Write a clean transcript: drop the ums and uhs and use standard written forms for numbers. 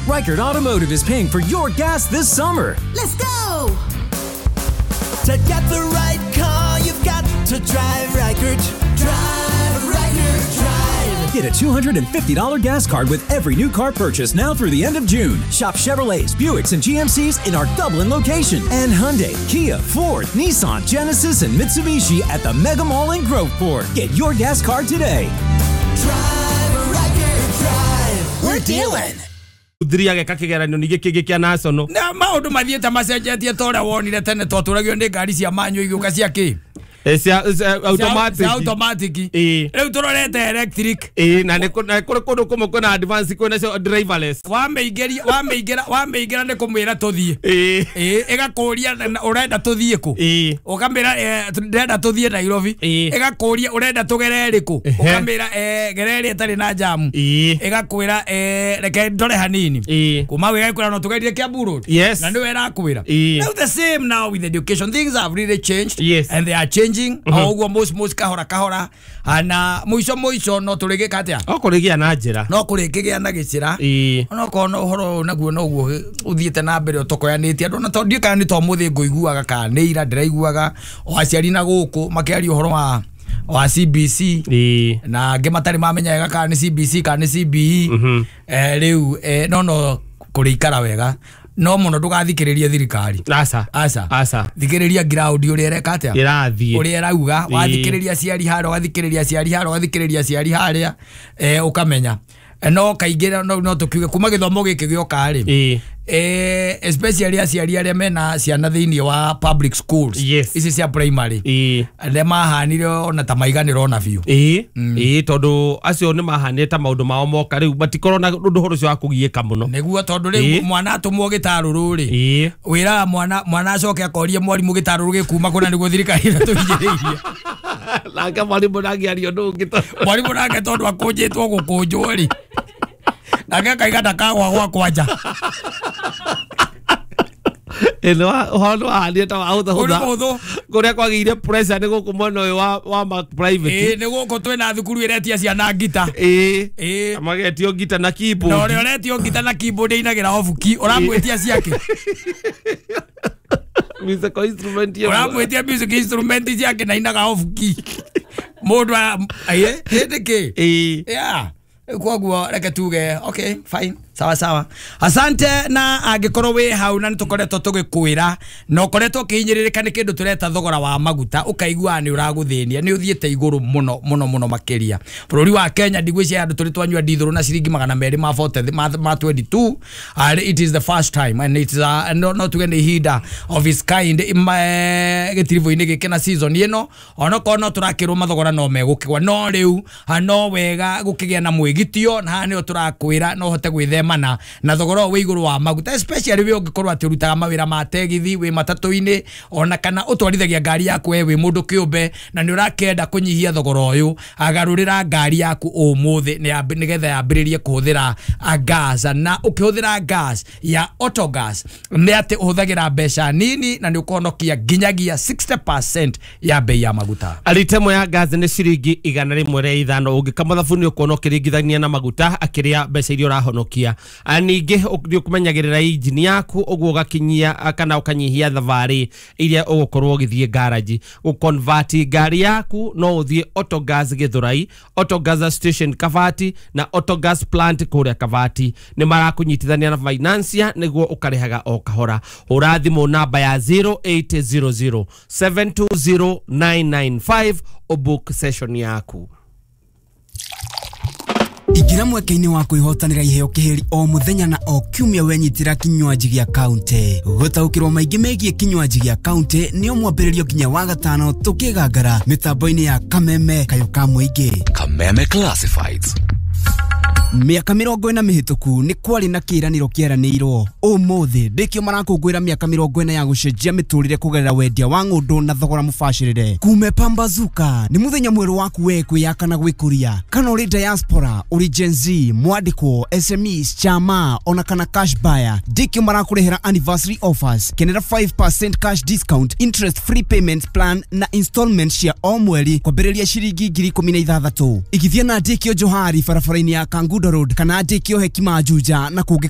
Reichert Automotive is paying for your gas this summer. Let's go! To get the right car, you've got to drive Reichert. Drive Reichert, drive. Get a $250 gas card with every new car purchase now through the end of June. Shop Chevrolets, Buicks, and GMCs in our Dublin location. And Hyundai, Kia, Ford, Nissan, Genesis, and Mitsubishi at the Mega Mall in Groveport. Get your gas card today. Drive Reichert, drive. We're dealing. Thiriage kakigeranio ningĩ kĩngĩ kĩa national na maũndũ mathiĩte macenjetie ta ũrĩa wonire tene twatũragio nĩ ngari cia manyu igĩũka cia kĩ cia automatic cia automatic rĩu tũrorete electric na nĩ kũrĩ kũndũ kũmwe kwĩna advance kwĩna cio driverless wamĩingĩra nĩ kũmwĩra tũthiĩ ĩgakũria ũrenda tũthiĩ kũ ũkamĩra ndĩrenda tũthiĩ Nairobi ĩgakũria ũrenda tũgere ĩrĩkũ ũkamĩra gere ĩrĩa ĩtarĩ na jamu ĩgakwĩra reke ndore hanini kuma hau ĩgakwĩra no tũgerie Kiambu Road na nĩwe ĩrakwĩra. Now the same now with education, things have really changed and they are changing. Oguo most kahora kahora na muico muico no turigika atia no kurigia na njira no kurikigia na gicira no kono uhoro naguo noguo uthiete na mbere utokoyanitie andu na to ndiũ kana ni to muthi nguiguaga kana ni ira ndiraiguaga o aciari na guku makiaria uhoro wa CBC na angĩ matarĩ mamenya wega kana ni CBC kana ni CBE riu no kurikara wega no muno ndugathikiririe thirikari aca aca aca thikiriria ground uria ireka atia irathie uria irauga wathikiriria ciari haria wathikiriria ciari haria wathikiriria ciari haria ukamenya no kaingĩ no tukiuge kuma gĩthomo gĩkĩ gĩoka rĩ especially aciari arĩa mena ciana thĩinĩ wa public schools ici cia primary arĩa mahanire ona ta maiganĩra ona biũ tondũ acio nĩ mahanire ta maũndũ mao moka rĩu matikorwo na ũndũ ũhoro ũcio wa kũgiĩka mũno nĩguo tondũ rĩu mwana atũmwo gĩtarũrũ rĩ wĩraga mwana acoke akorie mwarimũ gĩtarũrũ gĩkuma kũna nĩguo thirikari ĩratũhinyĩrĩirie nake mwarimũ ndangĩaria ũndũ ũngĩ mwarimũ nake tondũ akũnjĩtwo gũkũnjwo rĩ nake akaiga ndakagwa gwakwa nja ĩno ũhoro wahanire ta wahũthahũtha kũrĩa kwagĩire pressure nĩ gũkũ mwena ũyũ wa ma private nĩ gũkũ twĩna thukuru ĩretia ciana ngita magetio ngita na keyboard na ũrĩa ũretio ngita na keyboard ĩinagĩra obuki ũramwĩtia ciake musical instrument ũramwĩtia music instrument ciake na inaga obuki mũndũ hĩndĩ kĩ yeah koguo reke tuge okay fine sawa sawa asante na angikorwo wi hau na nitukoretwo tugikwira na ukoretwo ukihinyĩrĩrĩka nĩ kĩndũ tũreta thogora wa maguta ũkaigua nĩ ũragũthĩnia nĩ ũthiĩte igũrũ mũno mũno mũno makĩria bũrũri wa Kenya ndigwĩciria andũ tũrĩ twanyua ndithũrũ na ciringi 200 ma 40 ma 22 it is the first time and it is no tuge nĩ ihinda of its kind gĩtiribũ-inĩ gĩkĩ na season ĩno onokorwo no tũrakĩrwo mathogora no megũkĩgwa no rĩu no wega gũkĩgĩa na mwĩgitio na haha nĩho tũrakwĩra no ũhote gwĩthema mana na thogora wĩ igũrũ wa maguta especially we ũngĩkorwo atĩ ũrutaga mawĩra ma tegithi wĩ matatũ-inĩ ona kana ũtwarithagia ngari yaku we wĩ mũndũ kĩũmbe na nĩ ũrakĩenda kũnyihia thogora ũyũ agarũrĩra ngari yaku ũmũthĩ nĩgetha yambĩrĩrie kũhũthĩra gas na ũkĩhũthĩra gas ya autogas nĩ atĩ ũhũthagĩra mbeca nini na nĩ ũkũhonokia nginyagia 60% ya bei ya maguta. Ritemo ya gas nĩ ciringi 105 ũngĩkama thabuni ũkuona ũkĩringithania na maguta akĩrĩa mbeca iria ũrahonokia. Ningĩ nĩ ũkũmenyagĩrĩra injini yaku ũguo ũgakinyia kana ũkanyihia thabarĩ iria ũgũkorwo ũgĩthiĩ garaji. Gũconvert ngari yaku no ũthiĩ Autogas Gĩthũrai, Autogas Station Kabati na Autogas Plant kũrĩa Kabati. Nĩ marakũnyitithania na financier nĩguo ũkarĩhaga o kahora. Hũra thimũ namba ya 0800 720 995 ũbook session yaku. Igira mweke-inĩ wa kwĩhotanĩra iheo kĩhĩri o mũthenya na o kiumia wenyitĩra kinywaji gĩa kaunti. Gũtaũkĩrwo maingĩ megiĩ kinywaji gĩa kaunti nĩ mwambĩrĩrio nginya wa gatano tũkĩgangara mĩtambo-inĩ ya Kameme kayo ka mũingĩ. Kameme Classifieds. Mĩaka 40 mĩhĩtũku nĩ kwarĩ na kĩĩranĩro kĩeranĩirwo. Ũmũthĩ ndĩkĩo marakũngũĩra mĩaka 40 ya gũcenjia mĩtũrĩre kũgerera wendia wa ng'ũndũ na thogora mũbacĩrĩre. Kume Pambazuka nĩ mũthenya mwerũ waku we kwĩyaka na gwĩkũria. Kana ũrĩ diaspora, ũrĩ Gen Z, mwandĩkwo, SMEs, chama ona kana cash buyer. Ndĩkĩo marakũrehera anniversary offers. Kenera 5% cash discount, interest free payment plan na installment cia o mweri kwambĩrĩria ciringi 16,000. Igithia na Ndĩkĩo Johari barabara-inĩ ya Kangundo Road kana Ndĩkĩo Hekima Juja na kũngĩ.